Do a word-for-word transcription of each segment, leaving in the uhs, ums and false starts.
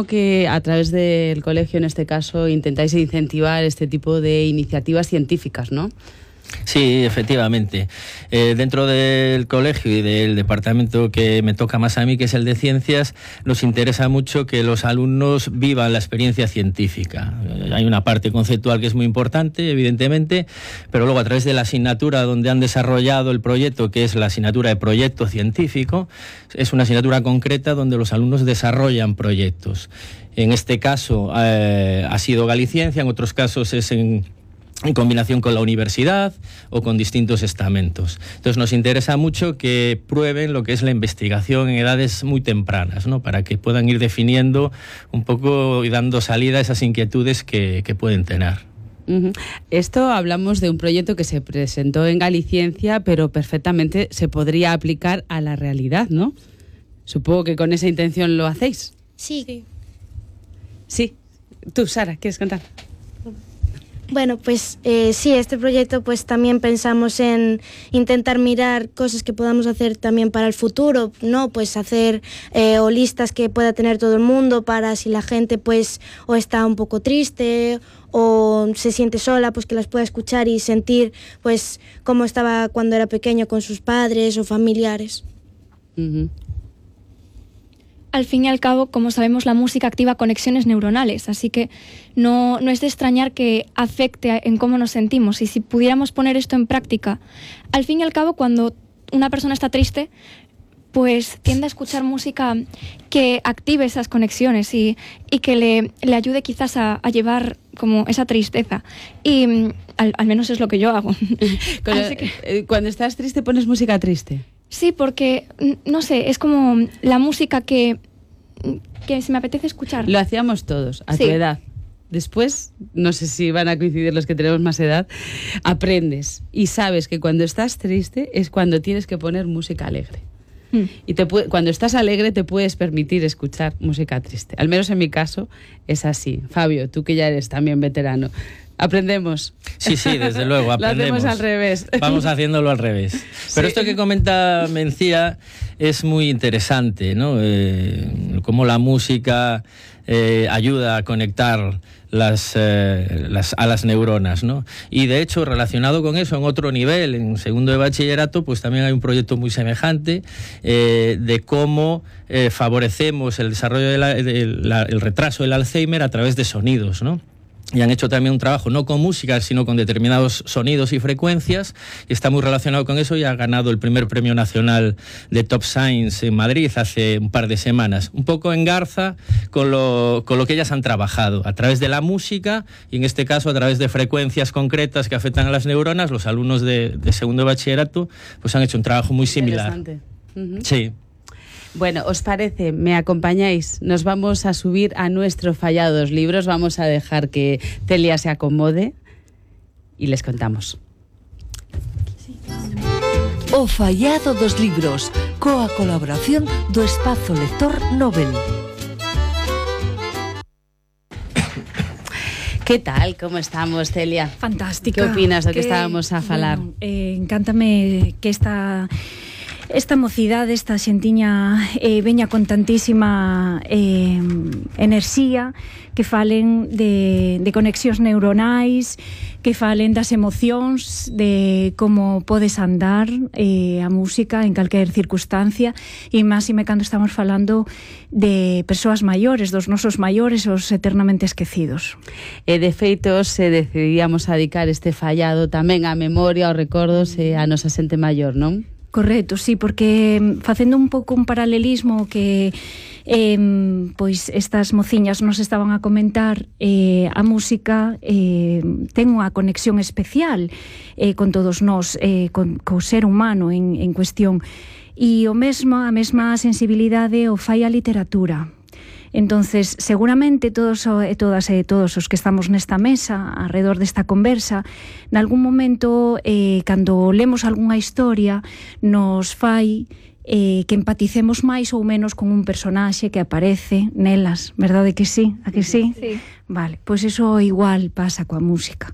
que a través del colegio, en este caso, intentáis incentivar este tipo de iniciativas científicas, ¿no? Sí, efectivamente. Eh, dentro del colegio y del departamento que me toca más a mí, que es el de ciencias, nos interesa mucho que los alumnos vivan la experiencia científica. Eh, hay una parte conceptual que es muy importante, evidentemente, pero luego a través de la asignatura donde han desarrollado el proyecto, que es la asignatura de proyecto científico, es una asignatura concreta donde los alumnos desarrollan proyectos. En este caso eh, ha sido Galiciencia, en otros casos es en... en combinación con la universidad o con distintos estamentos. Entonces nos interesa mucho que prueben lo que es la investigación en edades muy tempranas, ¿no? Para que puedan ir definiendo un poco y dando salida a esas inquietudes que, que pueden tener. Uh-huh. Esto hablamos de un proyecto que se presentó en Galiciencia, pero perfectamente se podría aplicar a la realidad, ¿no? Supongo que con esa intención lo hacéis. Sí. Sí. Sí. Tú, Sara, ¿quieres contar? Bueno, pues eh, sí, este proyecto pues también pensamos en intentar mirar cosas que podamos hacer también para el futuro, ¿no? Pues hacer eh, o listas que pueda tener todo el mundo para si la gente pues o está un poco triste o se siente sola, pues que las pueda escuchar y sentir pues cómo estaba cuando era pequeño con sus padres o familiares. Uh-huh. Al fin y al cabo, como sabemos, la música activa conexiones neuronales, así que no, no es de extrañar que afecte en cómo nos sentimos. Y si pudiéramos poner esto en práctica, al fin y al cabo, cuando una persona está triste, pues tiende a escuchar música que active esas conexiones y, y que le, le ayude quizás a, a llevar como esa tristeza. Y al, al menos es lo que yo hago. Así que, cuando estás triste, ¿pones música triste? Sí, porque, no sé, es como la música que, que se me apetece escuchar. Lo hacíamos todos, a sí. tu edad. Después, no sé si van a coincidir los que tenemos más edad, aprendes y sabes que cuando estás triste es cuando tienes que poner música alegre. Mm. Y te puede, cuando estás alegre te puedes permitir escuchar música triste. Al menos en mi caso es así. Fabio, tú que ya eres también veterano, ¿aprendemos? Sí, sí, desde luego, aprendemos. Lo hacemos al revés. Vamos haciéndolo al revés. Pero sí. Esto que comenta Mencía es muy interesante, ¿no? Eh, cómo la música eh, ayuda a conectar las, eh, las, a las neuronas, ¿no? Y de hecho, relacionado con eso, en otro nivel, en segundo de bachillerato, pues también hay un proyecto muy semejante eh, de cómo eh, favorecemos el desarrollo del retraso del Alzheimer a través de sonidos, ¿no? Y han hecho también un trabajo no con música, sino con determinados sonidos y frecuencias, y está muy relacionado con eso y ha ganado el primer premio nacional de Top Science en Madrid hace un par de semanas. Un poco en garza con lo, con lo que ellas han trabajado, a través de la música y en este caso a través de frecuencias concretas que afectan a las neuronas. Los alumnos de, de segundo de bachillerato pues han hecho un trabajo muy similar. Uh-huh. Sí. Bueno, ¿os parece? ¿Me acompañáis? Nos vamos a subir a nuestro Fallado dos libros. Vamos a dejar que Celia se acomode y les contamos. O Fallado dos libros, coa colaboración do Espazo Lector Nobel. ¿Qué tal? ¿Cómo estamos, Celia? Fantástica. ¿Qué opinas de lo que, que estábamos a falar? Bueno, eh, encántame que esta... Esta mocidade, esta xentiña eh, veña con tantísima eh, enerxía, que falen de, de conexións neuronais, que falen das emocións, de como podes andar eh, a música en calquer circunstancia, e máxime cando estamos falando de persoas maiores, dos nosos maiores, os eternamente esquecidos. E de feito, se decidíamos a dedicar este fallado tamén á memoria, aos recordos e a nosa xente maior, non? Correcto, sí, porque facendo un pouco un paralelismo que eh, pois estas mociñas nos estaban a comentar, eh, a música eh, ten unha conexión especial eh, con todos nós, eh, con, co ser humano en, en cuestión, e o mesmo, a mesma sensibilidade o fai a literatura. Entonces, seguramente todos e todas e todos os que estamos nesta mesa, alrededor desta conversa, nalgún momento, eh, cando lemos algunha historia, nos fai eh, que empaticemos máis ou menos con un personaxe que aparece nelas, verdade que sí? A que sí? Sí. Vale, pois iso igual pasa coa música.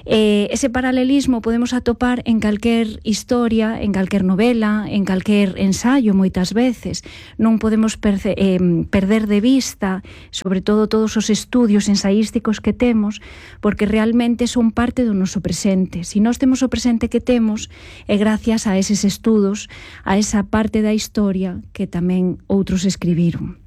Eh, ese paralelismo podemos atopar en calquer historia, en calquer novela, en calquer ensayo moitas veces. Non podemos perce, eh, perder de vista, sobre todo todos os estudios ensaísticos que temos, porque realmente son parte do noso presente. Se nós temos o presente que temos, é gracias a eses estudos, a esa parte da historia que tamén outros escribiron.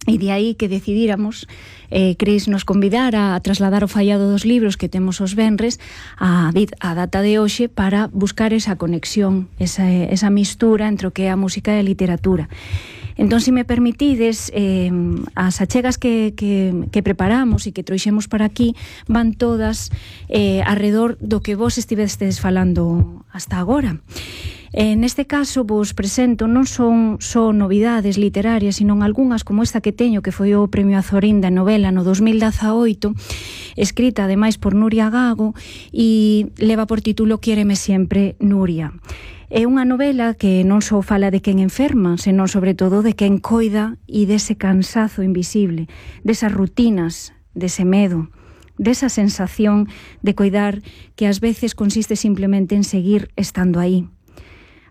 E de aí que decidíramos, eh, Cris nos convidara a trasladar o fallado dos libros que temos os venres a, a data de hoxe para buscar esa conexión, esa, esa mistura entre o que é a música e a literatura. Entón, se me permitides, eh, as achegas que, que, que preparamos e que trouxemos para aquí van todas eh, arredor do que vos estivestes falando hasta agora. Eh, neste caso vos presento non son só novidades literarias, sino algunhas como esta que teño, que foi o Premio Azorín da novela no dos mil dezaoito, escrita ademais por Nuria Gago, e leva por título Quiéreme sempre, Nuria. É unha novela que non só fala de quen enferma, senón sobre todo de quen coida e dese cansazo invisible, desas rutinas, dese medo, desa sensación de coidar que ás veces consiste simplemente en seguir estando aí.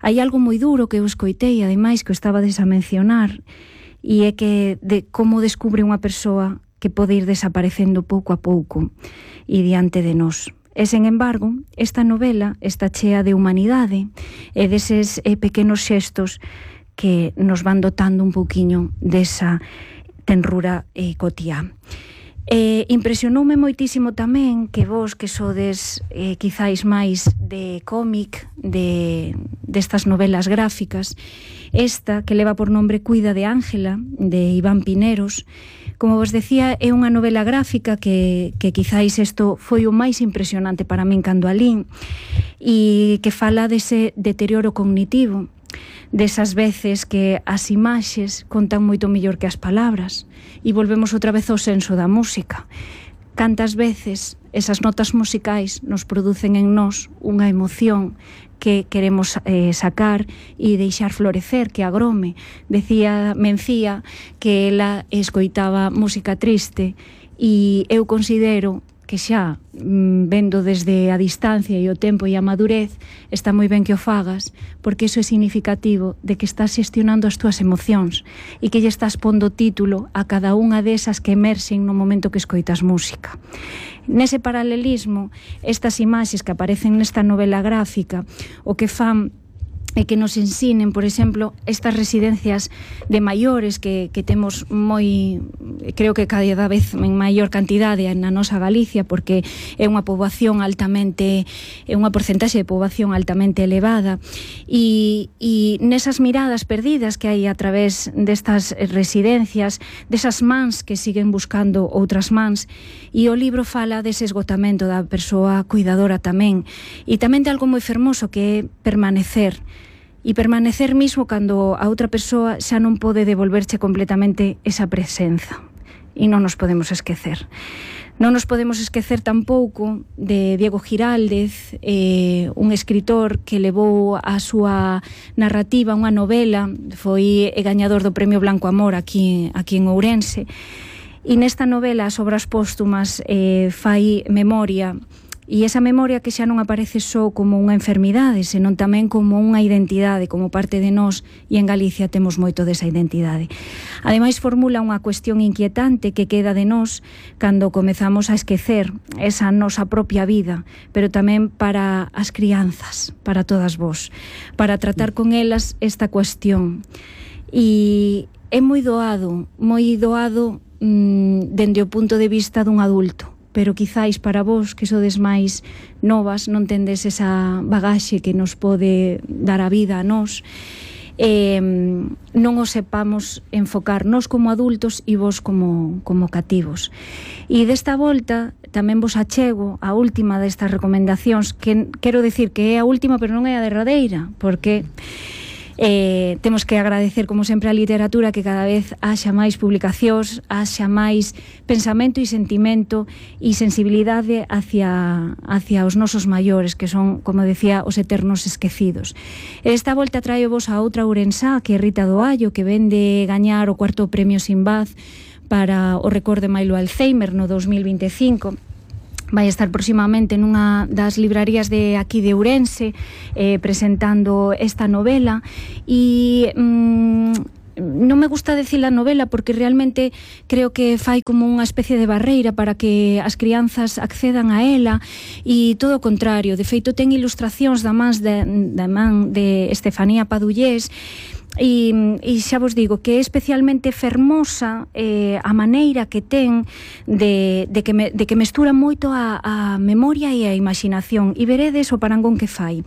Hai algo moi duro que eu escoitei, ademais, que o estabades a mencionar, e é que de como descubre unha persoa que pode ir desaparecendo pouco a pouco e diante de nós. E, sen embargo, esta novela está chea de humanidade e deses eh, pequenos xestos que nos van dotando un pouquiño desa tenrura eh, cotiá. Eh, impresionoume moitísimo tamén que vos que sodes eh, quizáis máis de cómic, de destas novelas gráficas, esta que leva por nombre Cuida de Ángela, de Iván Pineros, como vos decía, é unha novela gráfica que, que quizáis isto foi o máis impresionante para min cando a lín, e que fala dese deterioro cognitivo, desas veces que as imaxes contan moito mellor que as palabras, e volvemos outra vez ao senso da música. Cantas veces esas notas musicais nos producen en nós unha emoción que queremos eh, sacar e deixar florecer, que agrome. Decía Mencía que ela escoitaba música triste, e eu considero que xa, vendo desde a distancia e o tempo e a madurez, está moi ben que o fagas, porque iso é significativo de que estás xestionando as túas emocións e que lle estás pondo título a cada unha desas que emerxen no momento que escoitas música. Nese paralelismo, estas imaxes que aparecen nesta novela gráfica, o que fan e que nos ensinen, por exemplo, estas residencias de maiores que, que temos moi, creo que cada vez en maior cantidade na nosa Galicia, porque é unha poboación altamente, é unha porcentaxe de poboación altamente elevada, e, e nesas miradas perdidas que hai a través destas residencias, desas mans que siguen buscando outras mans, e o libro fala dese esgotamento da persoa cuidadora tamén, e tamén de algo moi fermoso que é permanecer, e permanecer mismo cando a outra persoa xa non pode devolverche completamente esa presenza. E non nos podemos esquecer. Non nos podemos esquecer tampouco de Diego Giraldez, eh, un escritor que levou a súa narrativa, unha novela, foi gañador do Premio Blanco Amor aquí, aquí en Ourense, e nesta novela, as obras póstumas, eh, fai memoria. E esa memoria que xa non aparece só como unha enfermidade, senón tamén como unha identidade, como parte de nós, e en Galicia temos moito desa identidade. Ademais, formula unha cuestión inquietante que queda de nós cando comezamos a esquecer esa nosa propia vida, pero tamén para as crianzas, para todas vós, para tratar con elas esta cuestión. E é moi doado, moi doado mmm, dende o punto de vista dun adulto, pero quizáis para vos que sodes máis novas non tendes esa bagaxe que nos pode dar a vida a nós, eh, non o sepamos enfocar nós como adultos e vos como, como cativos. E desta volta tamén vos achego a última destas recomendacións, que quero decir que é a última pero non é a derradeira, porque Eh, temos que agradecer, como sempre, a literatura, que cada vez haxa máis publicacións, haxa máis pensamento e sentimento e sensibilidade hacia, hacia os nosos maiores, que son, como decía, os eternos esquecidos. Esta volta traio vos a outra ourensá, que é Rita Doallo, que vende gañar o cuarto premio Sinbad para o recorde Mailo Alzheimer no dos mil vinte e cinco. Vai estar próximamente nunha das librarías de aquí de Ourense eh, presentando esta novela e mm, non me gusta decir a novela porque realmente creo que fai como unha especie de barreira para que as crianzas accedan a ela e todo o contrario, de feito ten ilustracións da man de, da man de Estefanía Padullés. E, e xa vos digo que é especialmente fermosa eh, a maneira que ten de, de, que, me, de que mestura moito a, a memoria e a imaginación, e veredes o parangón que fai.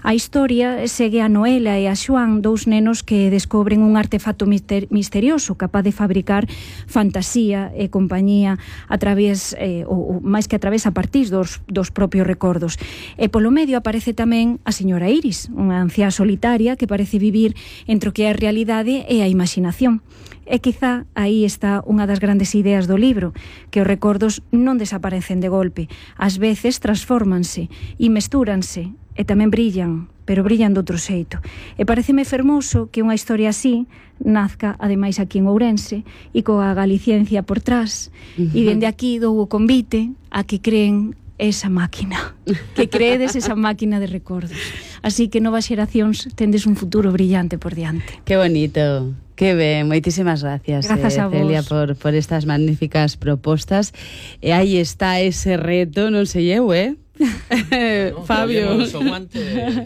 A historia segue a Noela e a Xoán, dous nenos que descobren un artefacto mister, misterioso capaz de fabricar fantasía e compañía a través, eh, ou, ou máis que a través a partir dos, dos propios recordos. E polo medio aparece tamén a señora Iris, unha anciá solitaria que parece vivir entre o que é a realidade e a imaginación. E quizá aí está unha das grandes ideas do libro, que os recordos non desaparecen de golpe, ás veces transfórmanse e mestúranse e tamén brillan, pero brillan de outro xeito. E pareceme fermoso que unha historia así nazca, ademais, aquí en Ourense e coa Galiciencia por trás. Uh-huh. E dende aquí dou o convite a que creen esa máquina, que creedes esa máquina de recordos. Así que novas xeracións tendes un futuro brillante por diante. Que bonito, que ben, moitísimas gracias, Grazas eh, a vos. Celia, por, por estas magníficas propostas. E aí está ese reto, non sei eu, eh? No, Fabio, o guante,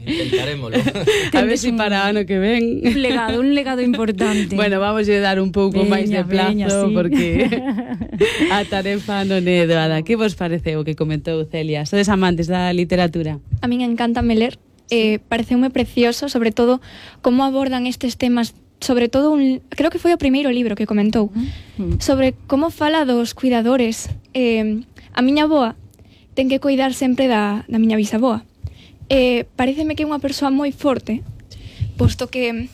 intentarémolo. A ver si para ano que ven un legado, un legado importante. Bueno, vamos a dar un pouco veña, máis de plazo, veña, sí. Porque a tarefa non é doada. Que vos pareceu o que comentou Celia? Sodes amantes da literatura? A min encántame ler, eh, pareceume precioso, sobre todo como abordan estes temas, sobre todo un, creo que foi o primeiro libro que comentou, uh-huh. sobre como fala dos cuidadores. Eh, a miña avoa ten que cuidar sempre da, da miña bisaboa. Eh, pareceme que é unha persoa moi forte, posto que...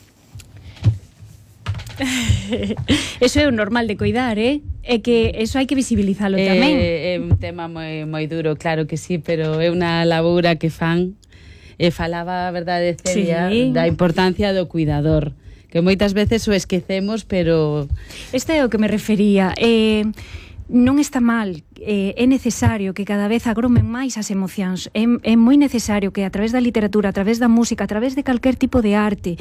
Eso é o normal de cuidar, eh? É que eso hai que visibilizalo eh, tamén. É un tema moi, moi duro, claro que sí, pero é unha labura que fan. E falaba, a verdade, Celia, sí, da importancia do cuidador, que moitas veces o esquecemos, pero... Este é o que me refería. Eh, non está mal, eh, é necesario que cada vez agromen máis as emocións, é, é moi necesario que a través da literatura, a través da música, a través de calquer tipo de arte,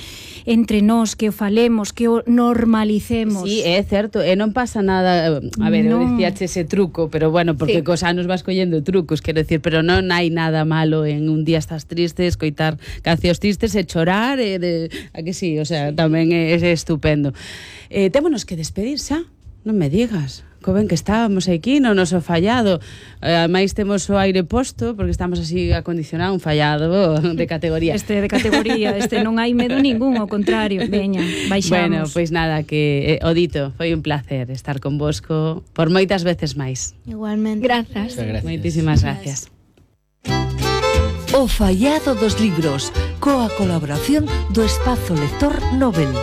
entre nós, que o falemos, que o normalicemos. Sí, é certo, e non pasa nada. A ver, no. eu dicíache ese truco, pero bueno, porque sí, cos anos vas collendo trucos, quero decir, pero non hai nada malo en un día estás triste, escoitar cancións tristes e chorar, e de, a que sí, o sea, sí, tamén é, é estupendo. Eh, témonos que despedir xa, non me digas. Co ben que estábamos aquí no noso fallado. Ademais temos o aire posto porque estamos así acondicionado, un fallado de categoría. Este de categoría, este non hai medo ningún, ao contrario. Veña, baixamos. Bueno, pois pues nada, que eh, o dito, foi un placer estar con vosco por moitas veces máis. Igualmente. Grazas. Gracias. Moitísimas gracias. O fallado dos libros, coa colaboración do Espazo Lector Nobel.